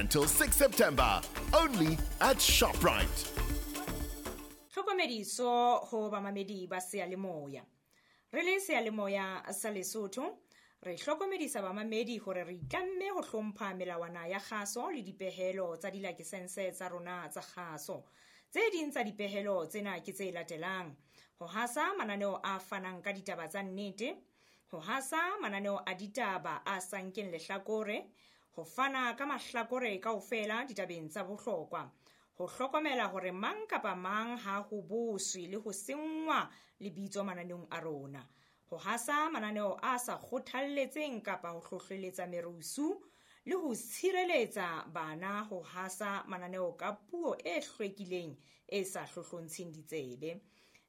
until 6 September, only at ShopRite. Tlhokomediso ho bamamedi ba seyalemoya. Re le seyalemoya sa Lesotho, re hlokomedisa bamamedi hore re itlamme ho hlompha melawana ya kgaso le dipehelo tsa dilakesense tsa rona tsa kgaso. Tse ding tsa dipehelo tsena ke tse latelang: ho hasa mananeo a fanang ka ditaba tsa nnete, ho hasa mananeo a ditaba a sa nkeng lehlakore, ho fana ka mahlakore kaofela ditabeng tsa bohlokwa, ho hlokomela hore mang kapa mang ha ho boswe le ho senngwa lebitso mananeong a rona, ho hasa mananeo a sa kgothalletseng kapa ho hlohleletsa merusu, le ho tshireletsa bana ho hasa mananeo ka puo e hlwekileng e sa hlohlontsheng ditsebe.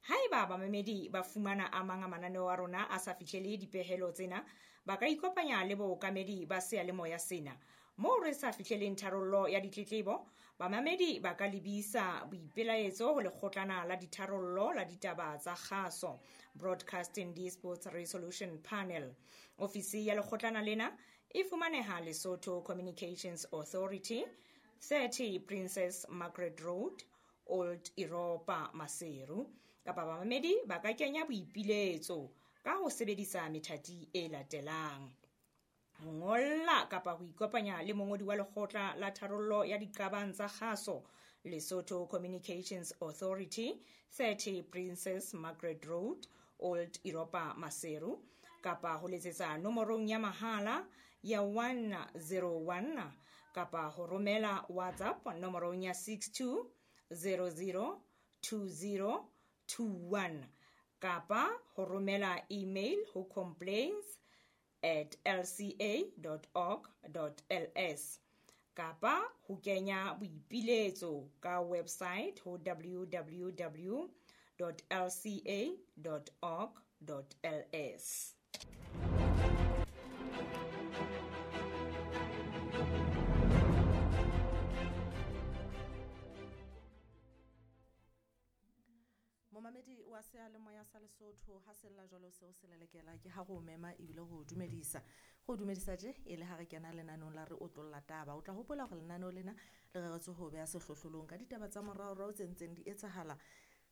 Haeba bamamedi ba fumana a mang a mananeo a rona a sa fihlele dipehelo tsena, ba ka ikopanya le bookamedi ba seyalemoya sena. Moo re sa fihleleng tharollo ya ditletlebo, bamamedi ba ka lebisa boipelaetso ho lekgotlana la ditharollo la ditaba tsa kgaso, Broadcasting Disputes Resolution Panel. Ofisi ya lekgotlana lena e fumaneha Lesotho Communications Authority, 30 Princess Margaret Road, Old Europa, Maseru. Kapa bamamedi ba ka kenya boipiletso ka ho sebedisa methati e latelang: ho ngolla kapa ho ikopanya le mongodi wa lekgotla la tharollo ya diqabang tsa kgaso, Lesotho Communications Authority, 30 Princess Margaret Road, Old Europa, Maseru, kapa ho letsetsa nomorong ya mahala ya 101, kapa ho romela WhatsApp nomorong ya 62 00 20 21, kapa ho romela email ho complaints@lca.org.ls, kapa ho kenya boipiletso ka website ho www.lca.org.ls. Momamedi wa seyalemoya sa Lesotho, ha sella jwalo seo se lelekela ke ha go mema ebile go dumedisa. Go dumedisa tje e le ha re kena lenanong la re otlolla taba. O tla hopola hore lenaneo lena le reretswe ho beha sehlohlolong ka ditaba tsa moraorao tse ntseng di etsahala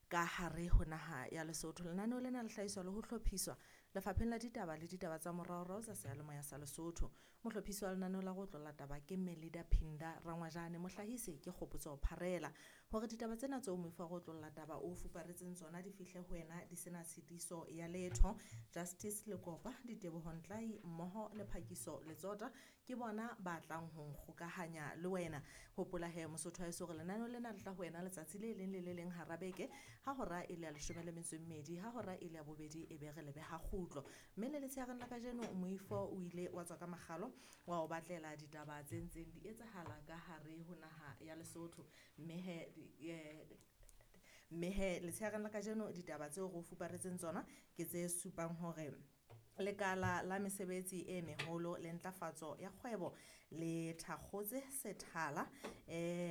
ka hare ho naha ya Lesotho. Lenaneo lena le hlahiswa le ho hlophiswa lefapheng la ditaba le ditaba tsa moraorao tsa seyalemoya sa Lesotho. Mohlophisi wa lenaneo la go otlolla taba ke Melida Phinda Rangwajane, mohlahisi ke Kgopotso Pharela. Hore ditaba tsena tseo moifo wa go otlolla taba o fuparetseng tsona di fihle ho wena di sena tshitiso ya letho, Justice Lekopa, Diteboho Ntlai mmoho le Phakiso Letsota ke bona ba tlang ho nkgokahanya le wena. Hopola he Mosotho wa heso hore lenaneo lena le tla ho wena letsatsi le leng le le leng hara beke ha hora e le ya 12, ha hora e le ya 2 e be re lebe ha kgutlo. Mme le letshehareng la kajeno moifo o ile wa tswa ka makgalo wa o batlela ditaba tse ntseng di etsahala ka hare ho naha ya Lesotho. Mme he letshehareng la kajeno ditaba tseo re o fuparetseng tsona ke tse supang hore lekala la mesebetsi e meholo le ntlafatso ya kgwebo le thakgotse sethala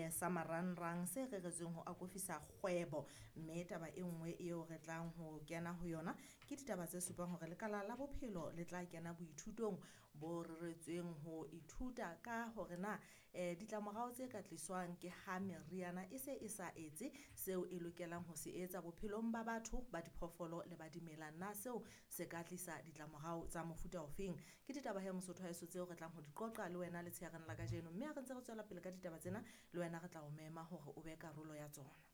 sa marangrang se reretsweng ho akofisa kgwebo. Mme taba e nngwe eo re tlang ho kena ho yona ke ditaba tse supang hore lekala la bophelo le tla kena boithutong bo reretsweng ho ithuta ka hore na ditlamorao tse ka tliswang ke ha meriana e se e sa etse seo e lokelang ho se etsa bophelong ba batho, ba diphoofolo le ba dimela, na seo se ka tlisa ditlamorao tsa mofuta ofeng. Ke ditaba he Mosotho wa heso tseo re tlang ho di qoqa le wena letshehareng la kajeno. Mme ha re ntse re tswela pele ka ditaba tsena, le wena re tla o mema hore o be karolo ya tsona.